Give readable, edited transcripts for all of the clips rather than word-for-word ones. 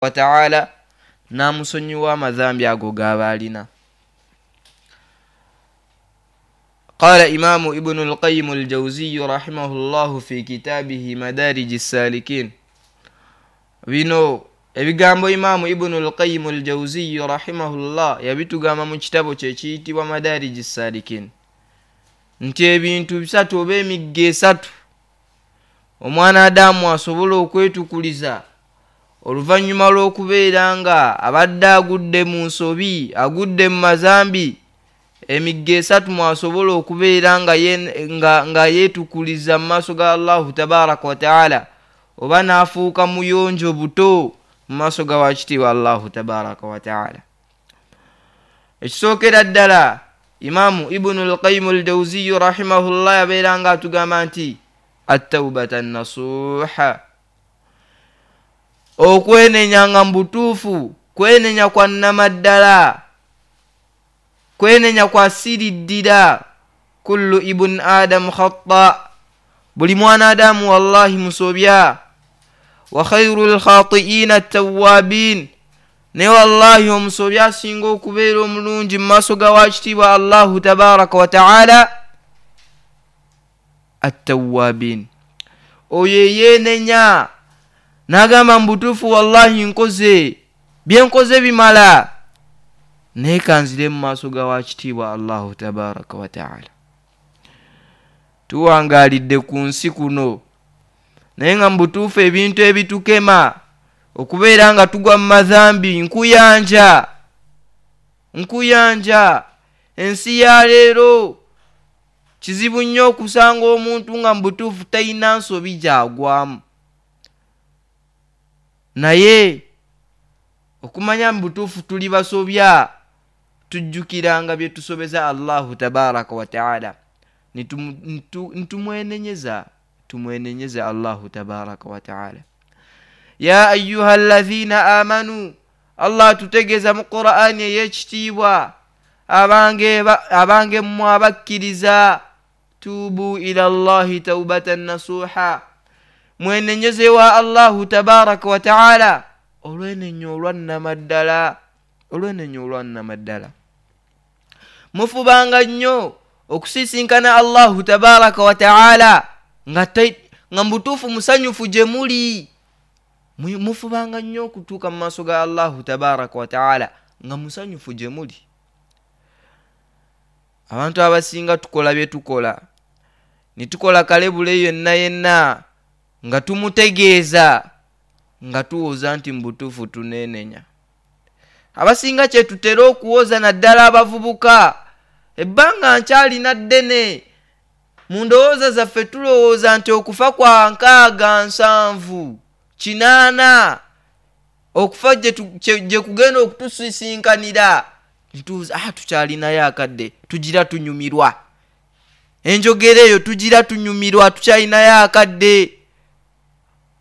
Wataala n'amusonyiwa amadhambi ago g'aba alina. Qala Imamu Ibunu Lqayimu Ljauziyu rahimahu llahu fi kitabihi Madariji Salikin. Bino ebigambo Imamu Ibunu Lqayimu Ljauziyu rahimahullah yabitugamba mu kitabo kye ekiyitibwa Madariji Salikin nti ebintu bisatu oba emigga esatu omwana Adamu asobola okwetukuliza oluvannyuma lw'okubeera nga abadde agudde mu nsobi, agudde mu mazambi, emigga esatu mwasobola okubeera nga, nga, nga yeetukuliza mu maaso ga Allahu tabaraka wataala oba n'afuuka muyonjo buto mu maaso ga wakitiibwa Allahu tabaraka wataala. Ekisookera ddala, Imamu Ibunu Lqayimu Ljauziyu rahimahullah yabeera nga atugamba nti attaubata nasuha, okwenenya nga mu butuufu kwenenya kwa nnamaddala, kwenenya kwa siriddira. Kullu ibuni adamu khata, buli mwana Adamu wallahi musobya, wa khairu lkhatiina tawabin, naye wallahi omusobya asinga okubeera omulungi mu maaso ga wakitiibwa Allahu tabaraka wataala attawabin, oyo eyeenenya n'agamba mu butuufu wallahi nkoze byenkoze bimala, naye kanzire mu maaso ga wakitiibwa Allahu tabaraka wataala. Tuwangaalidde ku nsi kuno, naye nga mu butuufu ebintu ebitukema okubeera nga tugwa mu madhambi nkuyanja nkuyanja. Ensi ya leero kizibu nnyo okusanga omuntu nga mu butuufu talina nsobi gyagwamu, naye okumanya mu butuufu tuli basobya, tujjukiranga bye tusobeza Allahu tabaraka wataala nitumwenenyeza, tumwenenyeze Allahu tabaraka wataala. Ya ayuha alladhina amanu, Allah atutegeeza mu Qur'ani ey'ekitiibwa, abange abange mmwe abakkiriza, tuubu ila llahi taubatan nasuha, mwenenyeze wa Allahu tabaraka wataala olwenenya olwannamaddala, olwenenya olwannamaddala. Mufubanga nnyo okusisinkana Allahu tabaraka wataala nga, nga mubutuufu musanyufu gye muli. Mufubanga nnyo okutuuka mu maaso ga Allahu tabaraka wataala nga musanyufu gye muli. Abantu abasinga tukola bye tukola, ne tukola kalebule yenna yenna nga tumutegeeza nga tuwoza nti mu butuufu tuneenenya. Abasinga kye tutera okuwoza, naddala abavubuka, ebbanga nkyalina ddene. Mu ndowooza zaffe tulowooza nti okufa kwa 60, 70, 80, okufa gye kugenda okutusisinkanira, ntuuza ah, tukyalinayo akadde, tugira tunyumirwa. Enjogera eyo, tugira tunyumirwa, tukyalinayo akadde.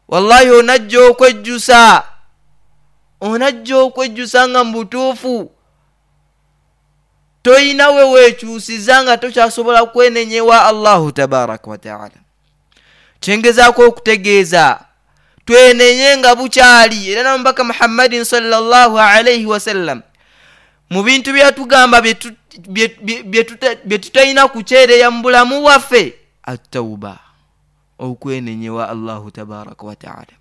Wallahi onajja okwejjusa, onajja okwejjusa nga mu butuufu toyina we weekyusiza, nga tokyasobola kwenenyewa Allahu tabaraka wataala. Kyengezaako okutegeeza, twenenye nga bukyali. Era namubaka Muhammadin sallallahu alaihi wasallam mu bintu byatugamba bye tutalina kukyereya mu bulamu bwaffe, attauba, okwenenyewa Allahu tabaraka wataala.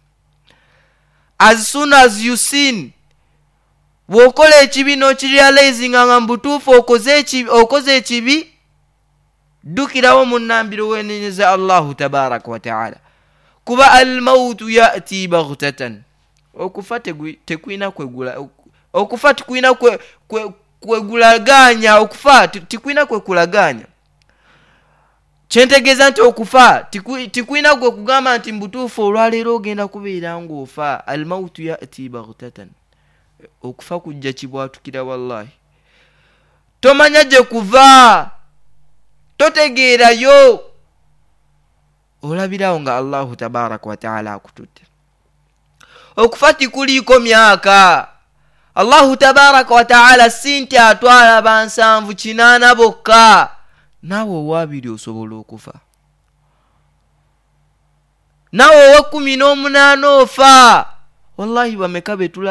As soon as you sin, bw'okola ekibi n'okirealizinga nga mu butuufu okoze ekibi, ddukirawo munnambiro wenenyeza Allahu tabaraka wataala, kuba almautu yati baghtatan, okufa tekulina kwegula, okufa tikulina kwegulaganya, okufa tikulina kwekulaganya. Kyentegeeza nti okufa tikulina gwe kugamba nti mubutuufu olwaleero ogenda kubeera ng'ofa. Almautu yati baghtatan, okufa kujja kibwatukira, wallahi tomanya gye kuva, totegeerayo, olabirawo nga Allahu tabaraka wataala akututte. Okufa tikuliiko myaka. Allahu tabaraka wataala si nti atwala ba 70, 80 bokka. Naawe owaabiri osobola okufa, naawe owa 18 ofa. Wallahi, bameka betulabye.